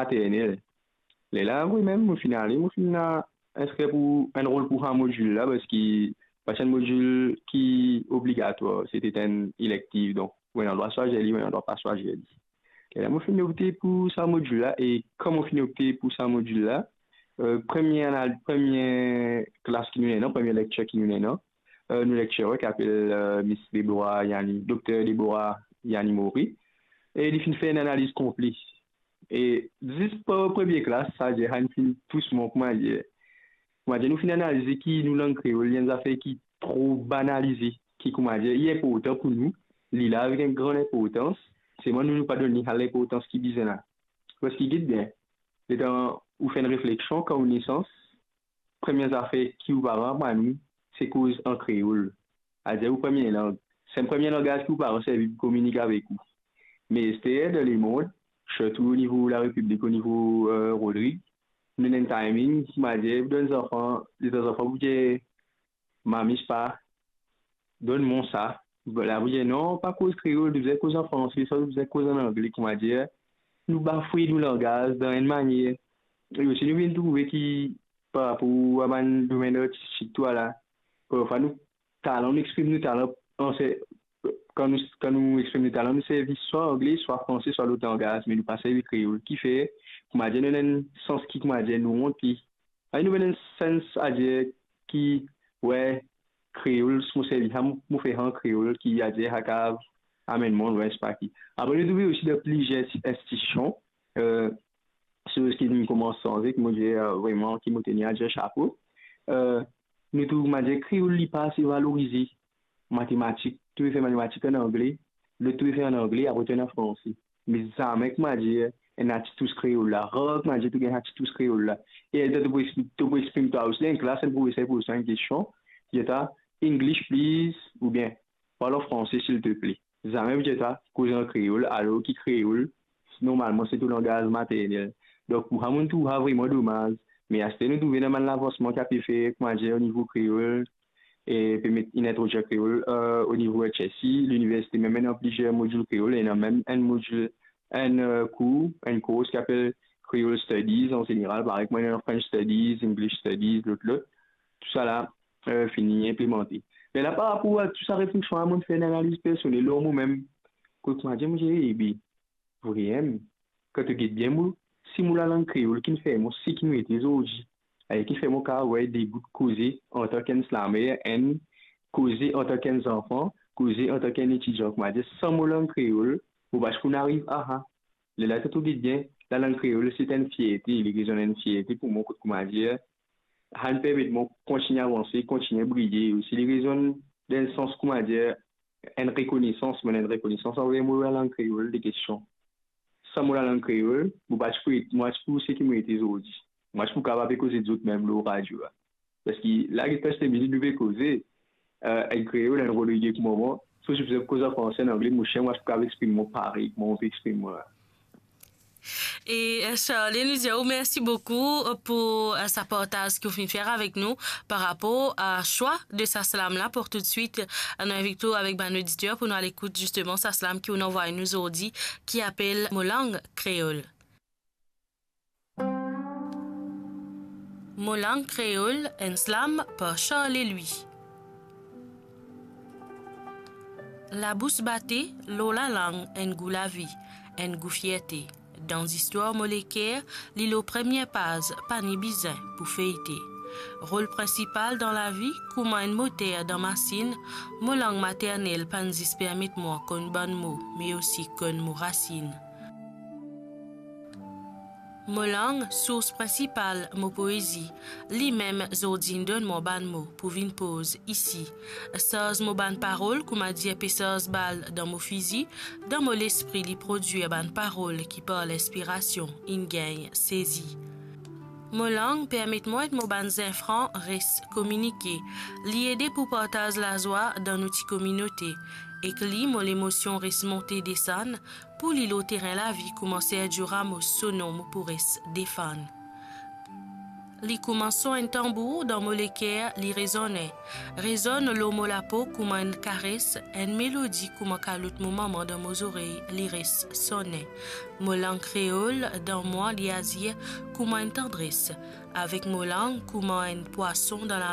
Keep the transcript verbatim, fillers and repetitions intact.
maternel. Lerla, wi, mem mo finn ale, mo finn al inskrir pou enn rol pou sa modil la, parski pa ti enn modil ki obligatwar, se ti enn elektiv, donk ou ena drwa swazir li, ou ena drwa pa swazir li. Lerla mo finn opte pou sa modil la, e kan mo finn opte pou sa modil la, eh, premie anal-, premie klas ki nou ena, premie lektir ki nou ena, eh, nou lektirer ki apel, eh, Miss Deborah Yani, Dokter Deborah Yani Mori, e li finn fer enn analiz konple. E zis par premie klas, savedir, sa inn finn tous mwa, koumadir, koumadir nou finn analize ki nou lang kreol, li enn zafer ki tro banalize, ki, koumadir, li inportan pou nou, li la avek enn gran inportans, selman nou, nou pa donn li sa linportans ki bizin la. Parski get bien, letan ou fer enn refleksion, kan ou nesans, premie zafer ki ou paran aprann ou, se koz an kreol. Savedir ou premie lang. Se enn premie langaz ki ou paran servi pou kominike avek ou. Me ester dan lemond, sirtou o nivo Larepiblik, o nivo, eh, Rodrig, nou ena enn timing, koumadir, pou donn zanfan, letan zanfan pou dir, "Mami, pa, donn mwa sa." La pou dir, "Non, pa koz kreol, to bizin koz an franse, swa to bizin koz an angle," koumadir, nou bafwe nou langaz dan enn manier. E osi nou vinn trouve ki par rapor a bann domenn artistik, tou la, parfwa nou talan, nou exprim nou talan an se-, kan nou, kan nou exprim nou talan, nou servi swa angle, swa franse, swa lot langaz, me nou pa servi kreol. Kifer, koumadir, nou ena enn sans ki, koumadir, nou ont li. Ayo, nou ena enn sans, savedir, ki, wi, kreol, si mo servi sa, mo, mo fer sa an kreol, ki, savedir, sa kapav amenn mwa lwin, sepa ki. Apre, nou trouve osi dan plizier institision, eh, soz ki finn koumans sanze, ki mo dir, eh, vremem, ki mo tenir a dir, sapo. Eh, nou trouv, koumadir, kreol li pa ase valorize. Matematik, to pe fer matematik an angle, lot to pe fer an angle, apre to ena franse. Me zame, koumadir, ena ti tous kreol la. Rar, koumadir, to gagn sa ti tous kreol la. E letan to pou exprim, to pou exprim twa osi dan enn klas, enn profeser poz twa enn kestion, dir twa, "English, please," oubien, "Parle en français, s'il te plaît." Zame pou dir twa koz an kreol, alor ki kreol, normalman, se to langaz maternel. Donk, pou sa, mo trouv sa vremem domaz. Me aster, nou trouve ena bann lavansman ki ape fer, koumadir, o nivo kreol, e pe met, inn introdwir kreol, eh, o nivo H S C, liniversite mem ena plizier modil kreol, ena mem enn modil, enn, eh, kour, enn kours ki apel Creole Studies an zeneral, parey kouma ena French Studies, English Studies, lot, lot. Tousala, eh, fini inplimante. Me la, par rapor a tou sa refleksion la, mo fer enn analiz personel lor momem. Kot mo dir, mo dir, "Ebe, vremem, kan to get bien mo, si mo lalang kreol ki fer mo seki mo ete zordi, e ki fer mo kapav gagn de bout koze antan ki enn slamer, enn koze antank enn zanfan, koze antank enn etidian, koumadir, san mo lang kreol, mo pa ti pou ariv a sa." Lerla to trouv bien, lalang kreol, se enn fierte, li rezonn enn fierte pou mwa, kot, koumadir, sa inn permet mwa kontigne avanse, kontigne briye, osi li rezonn dan enn sans, koumadir, enn rekonesans, mo ena enn rekonesans anver mo lalang kreol, de kestion. San mo lalang kreol, mo pa ti pou, mo pa ti pou seki mo ete zordi. Mo pa ti pou kapav pe koz zot mem lor radio la. Paski la, get pas de minit nou pe koze, eh, enn kreol, enn Rodrig kouma mwa, so si bizin koz an franse, an angle, mo cher, mo pa ti pou kapav exprim mwa parey kouma mo pe exprim mwa la. E, eh, Charlie, nou dir ou mersi boukou pou, eh, sa partaz ki ou finn fer avek nou par rapor a swa de sa slam la. Pou toutswit, eh, nou invit ou avek bann oditer pou nou al ekout zisteman sa slam ki ou inn anvway nou zordi, ki apel Mo lang kreol. Mo lang kreol, enn slam par Charles Louis. Labous bate, lor lalang, enn gou lavi, enn gou fierte. Dan zistwar mo leker, li lor premie paz, pa ni bizin pou feyte. Rol prinsipal dan lavi, kouma enn moter dan masinn, mo lang maternel pa'nn zis permet mwa konn bann mo, me osi konn mo rasinn. Mo lang, sours prinsipal mo poezi, limem zordi inn donn mwa bann mo pou vinn poz isi. Sarz mo bann parol, kouma dir pe sarz bal dan mo fizi, dan mo lespri li prodwir bann parol ki par linspirasion inn gagn sezi. Mo lang permet mwa ek mo bann zenfran res kominike. Li ede pou partaz lazwa dan nou ti kominote. Ek li, mo lemosion res monte desann, pou li lor terin lavi kouma Sergio Ramos so nom mo pou res defann. Li kouma son enn tanbour dan mo leker, li rezonn. Rezonn lor mo lapo kouma enn kares, enn melodi kouma kalot mo mama dan mo zorey, li res sonn. Mo lang kreol dan mwa, li azir kouma enn tandres. Avek mo lang kouma enn pwason dan